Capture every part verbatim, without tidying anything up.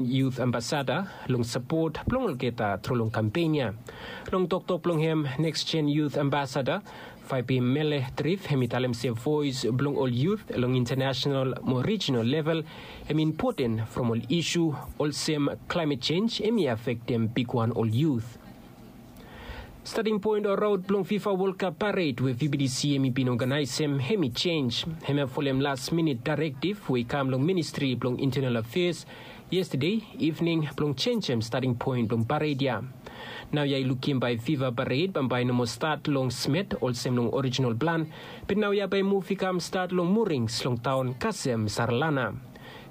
Youth Ambassador long sapot blong olgeta tru long kampen ya. Long toktok blong hem, Next Gen Youth Ambassador Faipimele Trif hem i talem se voes blong ol youth long international mo regional level hem i impoten from ol isu olsem climate change hem i afektem bigwan ol youth. Stating point o raot blong FIFA World Cup parade we VBTC hem i bin oganaesem hem i jenj. Hem ya folem last minute directive we i kam long Ministry blong Internal Affairs yestade ivning blong jenjem stating point blong parade ya. Naoia i lukim bae FIFA parade bambae i no moa stat long Smet olsem long original plan, be naoia bae muv i kam stat long Murings long taon kasem Sarlana.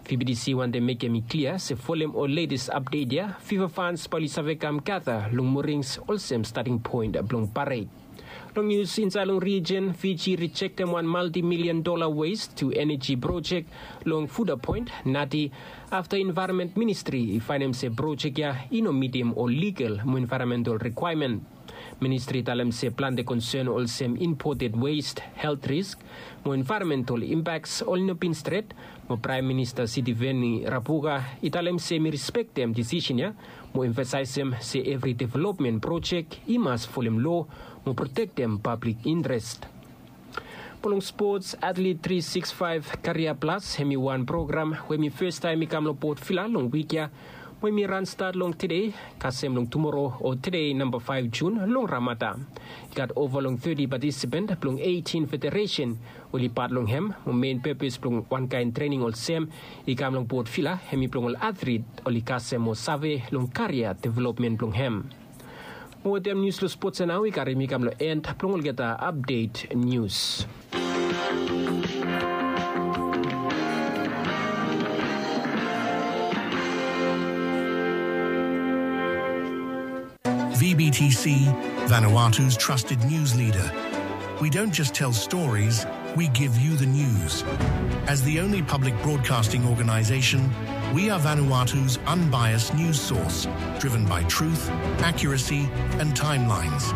VBTC wantem mekem i klia se folem ol latest update ya, FIFA fans bae oli save kam gada long Murings olsem stating point blong parade. Long nius insaed long rijen, Fiji rejektem wan multi-million dollar waste to energy project long Fuda Point, Nadi, afta Environment Ministry i faenem se project ya i no mitim ol legal mo environmental requirement. Ministry i talem se plante concern olsem imported waste, health risk, mo environmental impacts oli no bin stret, mo Prime Minister Sitiveni Rabuka i talem se mi respektem decision ya, mo emphasizem se evri development project i mas folem law mo protektem public interest. Mo long sports, Athlete three six five Career Plus hem i wan program we hem i fes taem i kam long Port Vila long wik ya, mo hem i ran stat long tede kasem long tumoro o tede namba five June long Ramada. I gat ova long thirty participant blong eighteen federation oli pat long hem, mo mein purpose blong wan kaen trening olsem i kam long Port Vila hem i blong ol athlete oli kasem mo save long career development blong hem. Mo wetem nius long sports ya nao i karim i kam long end blong olgeta update nius. VBTC, Vanuatu's trusted news leader. We don't just tell stories, we give you the news. As the only public broadcasting organization, we are Vanuatu's unbiased news source, driven by truth, accuracy, and timelines.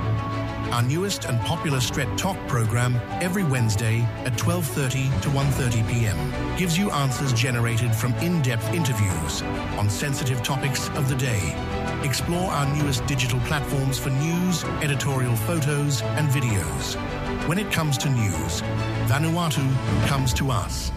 Our newest and popular Stret Tok program every Wednesday at twelve thirty to one thirty p.m. gives you answers generated from in-depth interviews on sensitive topics of the day. Explore our newest digital platforms for news, editorial photos, and videos. When it comes to news, Vanuatu comes to us.